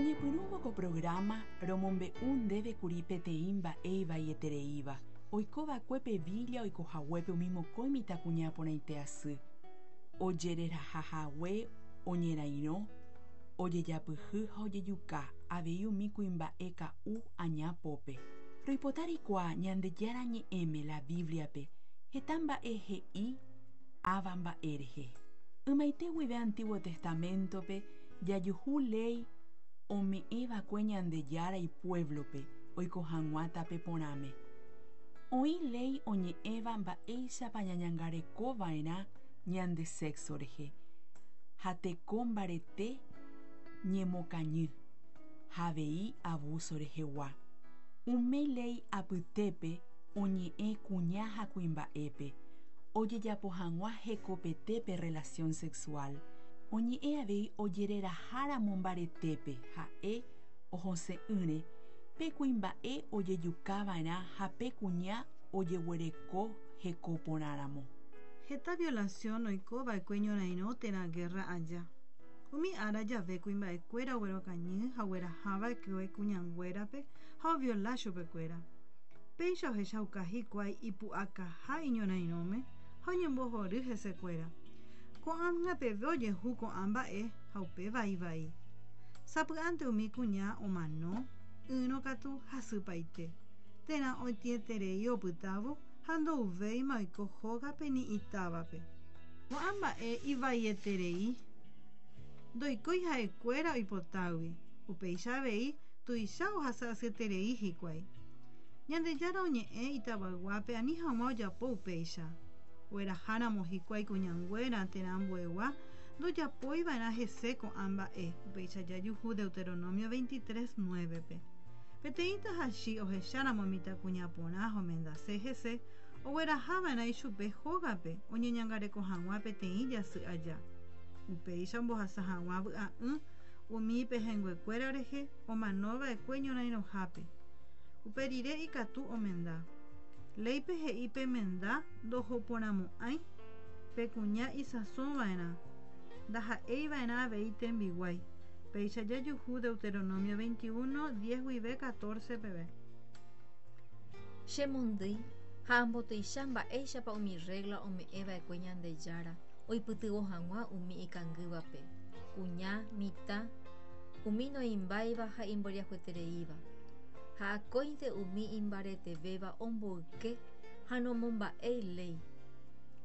Roñepyrũvo ko programa romombe'u ndéve kuri peteĩ mba'e ivaietereíva, oikova'ekue pe villa oikohaguépe umi mokõi mitãkuña porãite asy, ojererahahague oñerairõ, ojejapyhy ha ojejuka avei umi kuimba'e ka'u aña pópe. Roipota reikuaa Ñandejára Ñe'ẽme la Bíbliape heta mba'e he'i ãva mba'e rehe. Ymaite guive Antiguo Testamento-pe jajuhu léi ome'ẽva'ekue Ñandejára ipuévlope oiko hag̃ua tape porãme. Oĩ léi oñe'ẽva mba'éichapa ñañangareko va'erã ñande sexo rehe ha teko mbarete ñemokañy ha avei abuso rehegua. Umi léi apytépe oñe'ẽ kuña ha kuimba'épe ojejapo hag̃ua hekopete pe relación sexual. Oñe'ẽ avei ojereraháramo mbaretépe ha'e ohose'ỹre, pe kuimba'e ojejukava'erã ha pe kuña ojeguereko heko porãramo. Heta violación oikova'ekue ñorairõ térã guerra aja. Umi ára jave kuimba'ekuéra oguerokañy ha oguerahava'ekue kuñanguérape ha oviola chupekuéra. Péicha ohechauka hikuái ipu'akaha iñorairõme ha oñembohory hesekuéra. Ko'ág̃a peve ojehu ko'ã mba'e ha upéva ivai. Sapy'ánte umi kuña omano, ỹrõ katu hasypaite, térã otĩeterei opytávo ha ndouvéima oiko hógape ni itávape. Ko'ã mba'e ivaieterei, ndoikói ha'ekuéra oipotágui, upéicha avei tuicha ohasa asyeterei hikuái. Ñandejára oñe'ẽ itavayguápe ani hag̃ua ojapo upéicha. Ogueraháramo hikuái kuñanguéra térã ambuegua ndojapoiva'erã hese ko'ã mba'e, upéicha jajuhu Deuteronomio 23, 9-pe. Peteĩ tahachi ohecháramo mitãkuña porã ha omendase hese, oguerahava'erã ichupe hógape oñeñangareko hag̃ua peteĩ jasy aja. Upéicha ombohasa hag̃ua vy'a'ỹ umi ipehẽnguekuéra rehe omanova'ekue ñorairõhápe. Upe rire ikatu omenda. Léipe he'i pe menda ndohoporãmo'ãi, pe kuña isãsova'erã, ndaha'eiva'erã avei tembiguái. Péicha jajuhu Deuteronomio 21, 10 guive 14 peve. Chemondýi ha ambotuicha mba'éichapa umi rrégla ome'ẽva'ekue Ñandejára oipytyvõ hag̃ua umi ikangývape, kuña, mitã, umi noĩmbáiva ha imboriahuetereíva. Ha akóinte umi imbaretevéva omboyke ha nomomba'éi léi.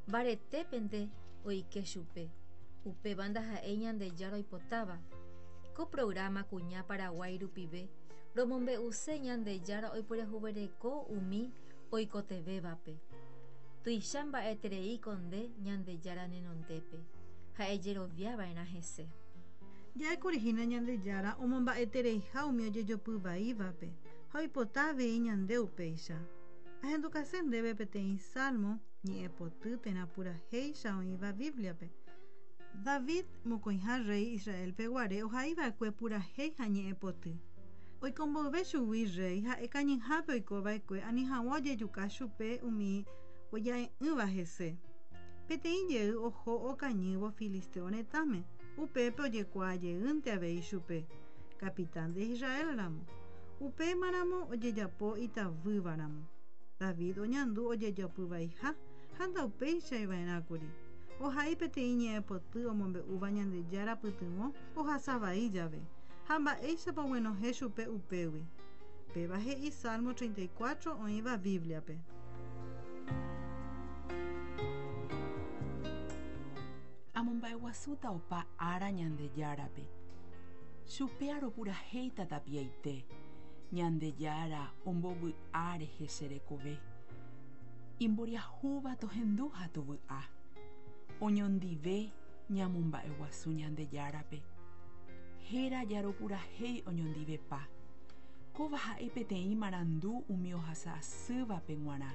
Mbaretépente oike chupe, upéva ndaha'éi Ñandejára oipotáva. Ko programa Kuña Paraguái rupive romombe'use Ñandejára oiporiahuvereko umi oikotevẽvape. Tuicha mba'etereíko nde Ñandejára nenondépe, ha ejeroviava'erã hese. Ja'ékuri hína Ñandejára omomba'etereiha umi ojejopy vaívape ha oipota avei ñande upéicha. Ahendukase ndéve peteĩ salmo, ñe'ẽpoty térã purahéicha oĩva Bíbliape. David, mokõiha rréi Israélpe guare ohaiva'ekue purahéi ha ñe'ẽpoty. Oiko mboyve chugui rréi ha'e kañyhápe oikova'ekue ani hag̃ua ojejuka chupe umi oja'e'ỹva hese. Peteĩ jey oho okañývo filisteo retãme, upépe ojekuaa jeýnte avei chupe, capitán de Israel ramo. Upémaramo ojejapo itavývaramo. David oñandu ojejopyvaiha ha ndaupeichaiva'erãkuri. Ohai peteĩ ñe'ẽpoty omombe'úva Ñandejára pytyvõ ohasa vai jave, ha mba'éichapa oguenohẽ chupe upégui. Péva he'i Salmo 34 oĩva Bíbliape. Amomba'eguasúta opa ára Ñandejárape, chupe aropurahéita tapiaite, Ñandejára ombovy'a rehe che rekove. Imboriahúva tohendu ha tovy'a. Oñondive ñamomba'eguasu Ñandejárape. Héra jaropurahéi oñondivepa. Kóva ha'e peteĩ marandu umi ohasa asývape g̃uarã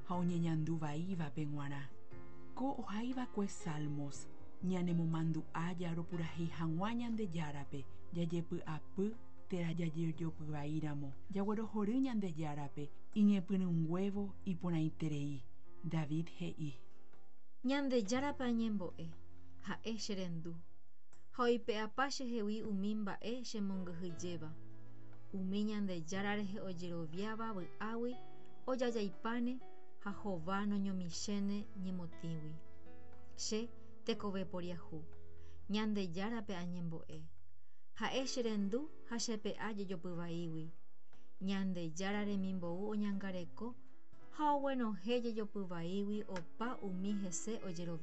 ha oñeñandu vaívape g̃uarã. Ko ohaiva'ekue Salmos ñanemomandu'a jaropurahéi hag̃ua Ñandejárape jajepy'apy térã jajejopyvaíramo. Jaguerohory Ñandejárape iñepyrũnguévo iporãiterei. David he'i. Ñandejárape añembo'e, ha'e che rendu. Ha oipe'apa chehegui umi mba'e chemongyhyjéva. Umi Ñandejára rehe ojeroviáva vy'águi ojajaipáne ha hova noñomichéne ñemotĩgui. Che, tekove poriahu, Ñandejárape añembo'e. Ha'e cherendu ha chepe'a jejopy vaígui. Ñandejára remimbou oñangareko ha oguenohẽ jejopy vaígui opa umi hese ojeroviávape.